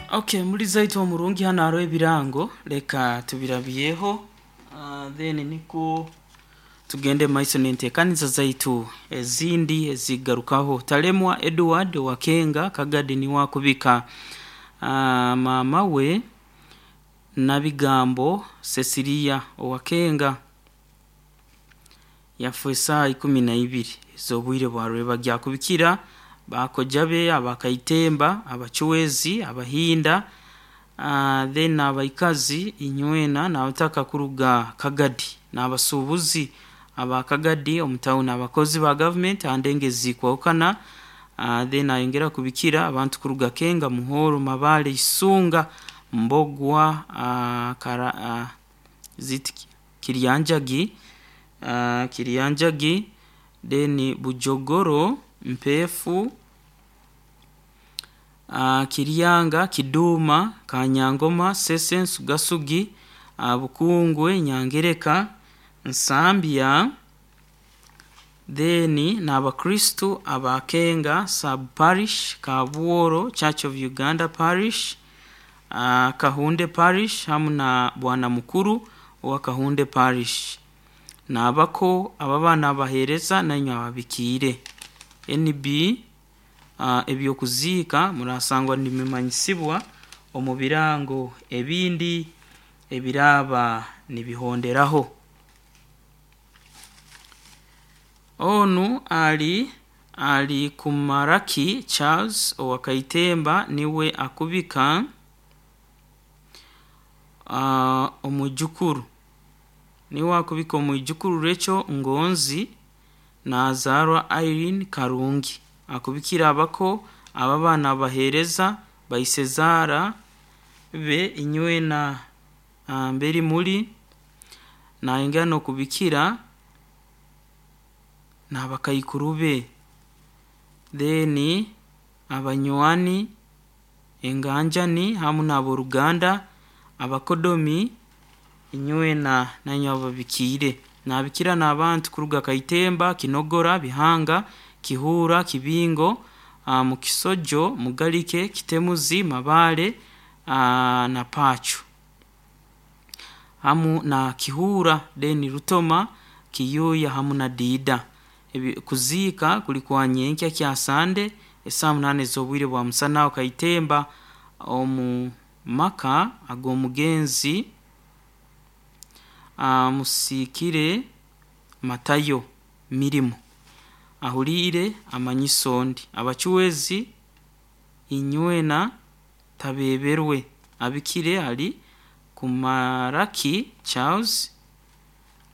Okay, muri zaitu omurungi hano hariho ebirango, leka tubirabyeho, then nikwo tugende maiso n'enteekaniza zaitu ezindi ezigarukaho. Talemwa Edward Wakenga Kagadi niwe akubika maama we Nabigambo Cecilia Owakenga yafa esaaha 12 ez'obwire bwa rwebagyo. Akubikira bakoja be abakaitemba, abachwezi, abahinda, then abaikazi inywena n'abataka kuruga Kagadi n'abasuubuzi aba Kagadi omu tawuni, abakozi ba gavumenti ha ndengo ezikwahukana, then ayongera kubikira abantu kuruga Kenga, Muhoro, Mabale, Isunga, Mbogwa, ziti Kiryanjagi, Kiryanjagi, then Bujogoro, Mpeefu, Kiryanga, Kiduma, Kanyangoma, Sese, Nsugasugi, Bukungwe, Nyangereka, Nsambya, then n'abakristu aba Kenga Sub Parish, Kabworo Church of Uganda Parish, Kahunde Parish hamu na Bwana Mukuru owa Kahunde Parish. N'abako ababaana abaheereza nainywe ababikiire. NB ebyokuziika murasangwa nibimanyisibwa omu birango ebindi ebiraaba nibihonderaho. Onu ali Kumaraki Charles owa Kaitemba niwe akubika omwijukuru, niwe akubika omwijukuru Rachel Ngonzi nazaarwa Irene Karungi. Akubikira abako ababaana abaheereza baisezaara be inywena mberi muri, nayongera n'okubikira n'abakaikuru be, then abanywani, enganjani hamu n'ab'oruganda, abakodomi inywena nainywe ababikiire. Naabikira n'abantu kuruga Kaitemba, Kinogora, Bihanga, Kihuura, Kibingo, Mukisojo, Mugalike, Kitemuzi, Mabale na Pachu hamu na Kihuura, then Rutoma, Kiyuuya hamu na Diida. Kuziika kuli kwa nyenkya kya Sande esaaha 8 ez'obwire bwa musana aho Kaitemba omu maka ag'omugenzi Musiikire Matayo Mirimo ahuliire amanyiso ondi. Abachwezi inywena tabeeberwe. Abikire ali Kumaraki Charles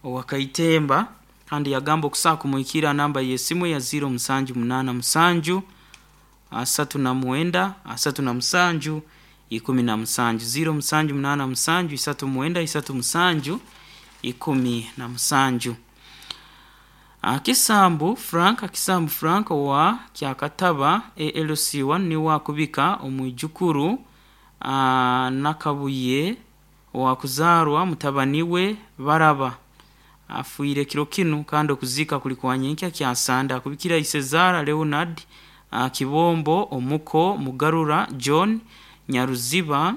owa Kaitemba kandi yagamba okusobola kumuhikirra ha namba y'esimu eya 0787 39 37 17, 0787 39 37 17. Kisambu Frank, Kisambu Frank owa Kyakataba ALC1 niwe akubika omwijukuru Nakabuye owakuzaarwa mutabani we Baraba afiire kiro kinu kandi okuziika kuli kwa nyenkya kya Sande. Akubikira Isezaara Leonard Kibombo Omuko Mugarura John Nyaruziba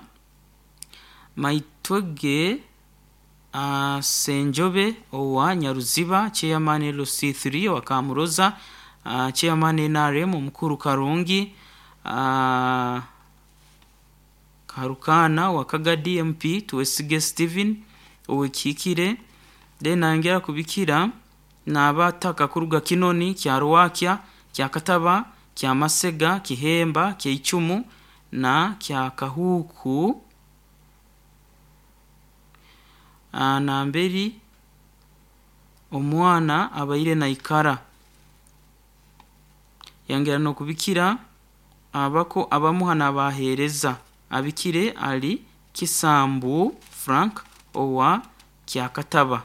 Maitwege Senjobe owa Nyaruziba, Chairman LC3 owa Kamuroza, Chairman NRM Omukuru Karungi, Karukaana owa Kagadi MP Twesige Stephen ow'Ekihikire, then nayongera kubikira n'abataka kuruga Kinoni, Kyarwakya, Kyakataba, Kyamasega, Kihemba, Kyaicumu na Kyakahuuku namberi omwana abaire naikara. Yongera n'okubikira abako abamuha n'abaheereza. Abikire ali Kisambu Frank owa Kyakataba.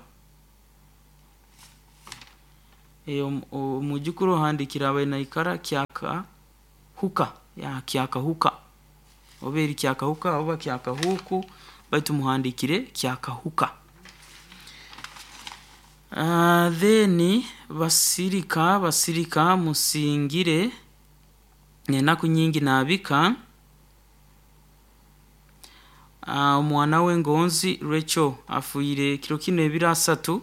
Omwijukuru ohandiikire abaire naikara Kyakahuka, Kyakahuka oba eri Kyakahuka oba Kyakahuuku baitu muhandiikire Kyakahuka. Then Basirika, Basirika Musingire enaku nyingi naabika. Omwana we Ngonzi Rachel afiire kiro kinu ebiro asatu,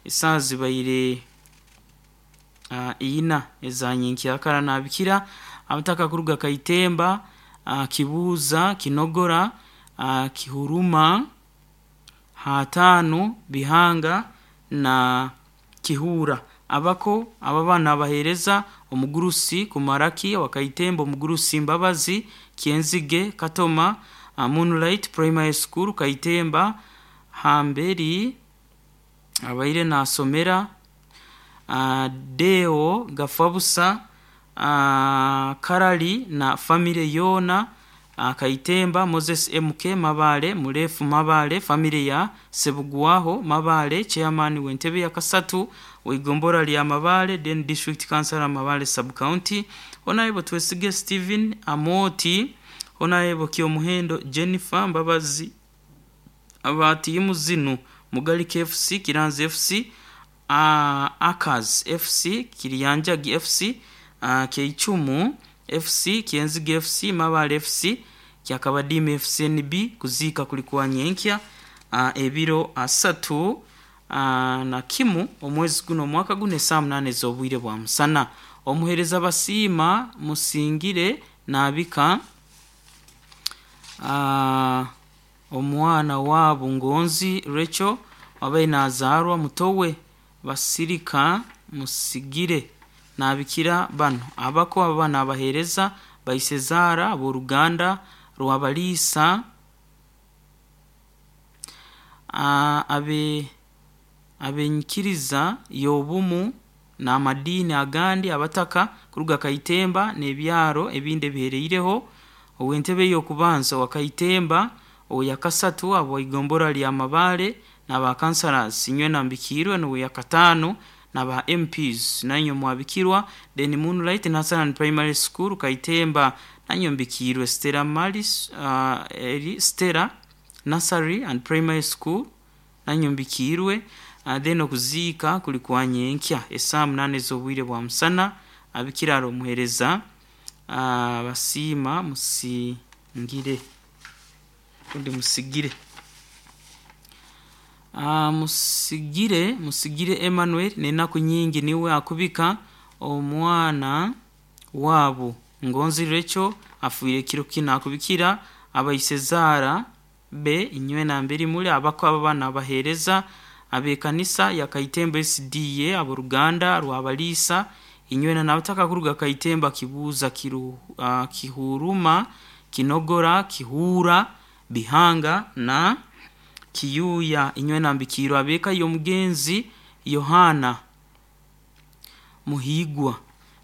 esaaha zibaire ina eza nyenkyakara. Nabikira abataka kuruga Kaitemba, Kibuuza, Kinogora, Kihuruma, Hatano, Bihanga na Kihuura. Abako abo abaana abaheereza omugurusi Kumaraki owa Kaitemba, omugurusi Mbabazi, Kyenzige, Katoma, Moonlight Primary School Kaitemba, hamberi abaire naasomera, Deo Gafabusa, Karali na famire yoona Kaitemba, Moses MK Mabale, Murefu Mabale, famire ya Sebugwaho Mabale, chairman w'entebe ya kasatu w'igombora lya Mabale, then district councillor Mabale sub county. Honorable Twesige Stephen Amoti, Honorable Kyomuhendo Jennifer Mbabazi, aba tiimu zinu: Mugalika FC, Kiranzi FC, Akaz FC, Kiryanjagi FC, Keichumu FC, Kyenzige FC, Mabale FC, Kyakabadiima FCNB. Kuziika kuli kwa nyenkya ebiro asatu na kimu omwezi guno omwaka guno esaaha 8 ez'obwire bwa musana. Omuheereza Basiima Musingire naabika omwana waabo Ngonzi Rachel wabaire nazaarwa mutowe Basirika Musigire. Nabikira banu abako aba nabaheereza baisezaara ab'oruganda rwabaliisa abenyikiriza y'obumu n'amadiini agandi, abataka kuruga Kaitemba n'ebyaro ebindi ebihereireho, ow'entebe y'okubanza owa Kaitemba, ow'eyakasatu ab'eigombora lya Mabale n'aba councillors inywena mbikiirwe, n'oweyakataano n'aba MPs nainywe mwabikirwa. Then Moonlight Nursery Primary School Kaitemba nainywe mbikiirwe. Stella Maris, eri Stella Nursery and Primary School nainywe mbikiirwe. Then okuziika kuli kwa nyenkya esaaha 8 ez'obwire bwa musana. Abikira ari omuheereza Basiima Musingire rundi Musigire. Musigire Emmanuel n'enaku nyingi niwe akubika omwana waabo Ngonzi Rachel afiire kiro kinu. Akubikira abaisezaara be inywena mberi muli, abako abo abaana abaheereza ab'ekanisa ya Kaitemba SDA, ab'oruganda rwabaliisa inywena n'abataka kuruga Kaitemba, Kibuuza, Kihuruma, Kinogora, Kihuura, Bihanga na Kiyuuya inywena mbikiirwe. Ab'eka y'omugenzi Yohana Muhiigwa,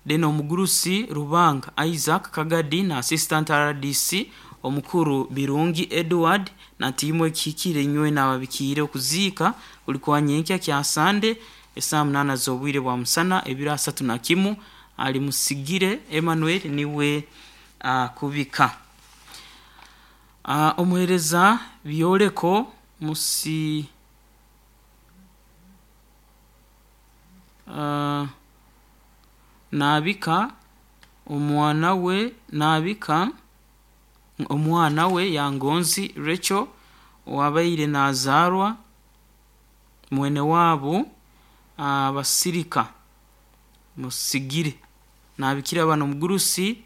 then omugurusi Rubanga Isaac Kagadi na assistant RDC omukuru Birungi Edward na tiimu ekihikire inywena ababikiire. Okuziika kuli kwa nyenkya kya Sande esaaha 8 z'obwire bwa musana ebiro asatu na kimu. Ali Musigire Emmanuel niwe akubika. Omuheereza Byoleko Musi naabika omwana we, naabika omwana we ya Ngonzi Rachel owabaire nazaarwa mwene waabo Basirika Musigire. Nabikira bano omugurusi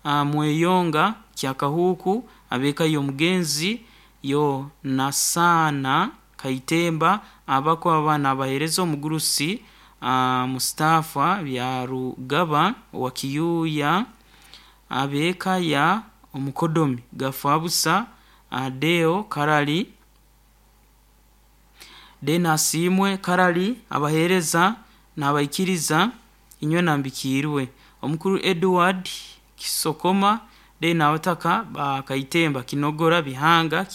Mweyonga Kyakahuuku, ab'eka y'omugenzi Yonasaana Kaitemba, abako abaana abaheereza omugurusi Mustafa Byarugaba owa Kiyuuya, ab'eka ya omukodomi Gafabusa Deo Karali, then Asiimwe Karali, abaheereza n'abaikiriza inywena mbikiirwe. Omukuru Edward Kisokoma, then abataka ba Kaitemba, Kinogora, Bihanga,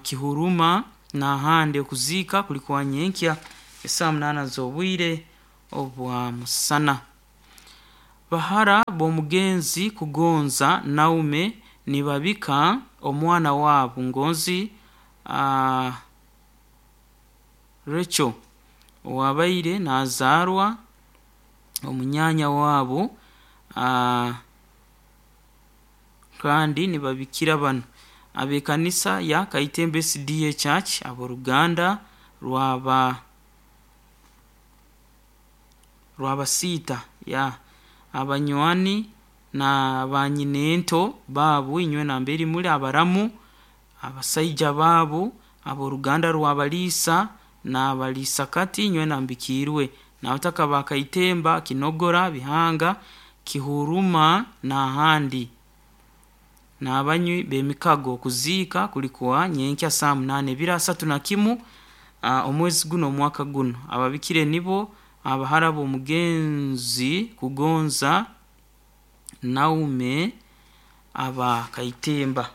Kihuruma n'ahandi. Okuziika kuli kwa nyenkya esaaha 8 z'obwire obwa musana. Bahara b'omugenzi Kugonza Naume nibabika omwana waabo Ngonzi Rachel owabaire nazaarwa omunyaanya waabo, kandi nibabikira banu. Ab'ekanisa ya Kaitembe SDA Church, ab'oruganda rwaba rwabasiita ya abanywani na banyinento baabu, inywe namberi muli, abaramu, abasaija baabu, ab'oruganda rwabaliisa n'abaliisakati, inywe nambikiirwe, n'abataka ba Kaitemba, Kinogora, Bihanga, Kihuruma n'ahandi, n'abanywi b'emikago. Kuziika kuli kwa nyenkya saa 8 31 omwezi guno omwaka guno. Ababikire nibo abahara b'omugenzi Kugonza Naume aba Kaitemba.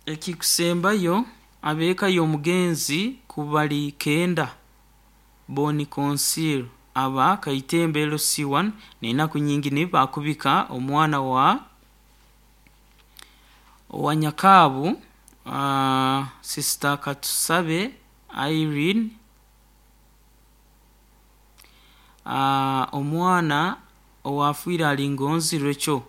Ekikusembayo, ab'eka y'omugenzi Kubali Kenda Boni Consil aba Kaitemba LC1 n'enaku nyingi nibo bakubika omwana wa Nyakaabu, Sister Katusabe Irene, omwana owaafiire ali Ngonzi Rachel,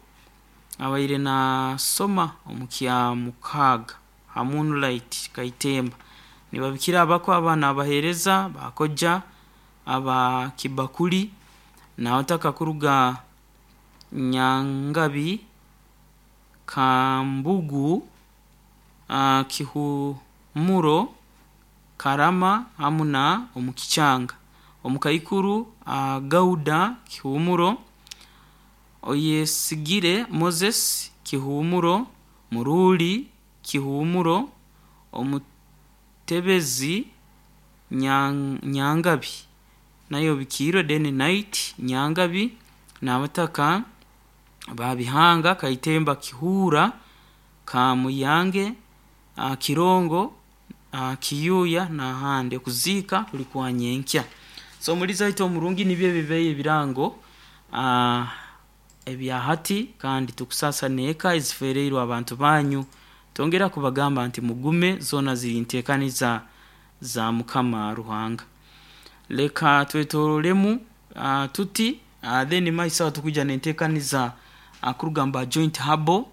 abaire nasoma omu kyamukaaga ha Moonlight Kaitemba. Nibabikira abako abaana abaheereza bakoja aba Kibakuli n'abataka kuruga Nyangabi, Kambugu, Kihumuro, Karama hamu na omukikyanga. Omukaikuru Gauda Kihumuro, Oyesigire Moses Kihumuro, Muruli Kihumuro, Omutebezi Nyangabi nayo obikiirwe, then Night Nyangabi n'abataka ba Bihanga, Kaitemba, Kihuura, Kamuyange, Kirongo, Kiyuuya n'ahandi. Okuziika kuli kwa nyenkya. So omulizi waitu omurungi, nibyo ebibaire ebirango ebya hati, kandi tukusaasa n'eka eziferiirwe abantu banyu. Twongera kubagamba nti mugume, zoona ziri nteekaniza za Mukama Ruhanga. Leka twetororemu tuti, then maiso aho tukwija n'enteekaniza kuruga mu ba Joint Herbal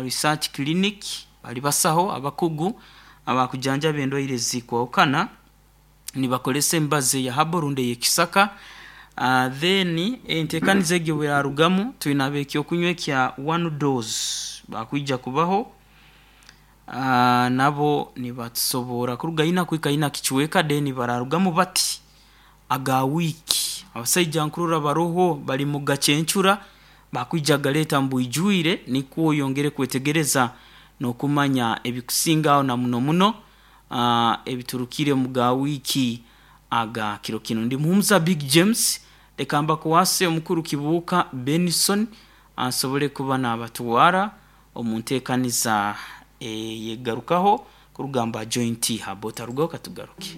Research Clinic, bali basaho abakugu abakujanjaba endwaire ezikwahukana nibakozesa emibazi eya herbal rundi ey'ekisaka. Then enteekaniza egi obu erarugamu, twine ab'ekyokunywa ekya one dose bakwija kubaho, nabo nibatusoborra kuruga ina kuhika ina kicweka, then bararugamu bati aga wiiki. Abasaija nkurora baroho bali mugacencura, bakwija kugaleeta mubwijwire nikwo oyongere kwetegereza n'okumanya ebikusingaho na muno muno ebiturukire omu ga wiiki aga kiro kinu. Ndi Muhumuza Big James, leka mbakwase omukuru Kibuuka Benson asobole kuba nabatwara omu nteekaniza eyegarukaho kuruga mu ba Joint Herbal. Otarugaho katugaruke.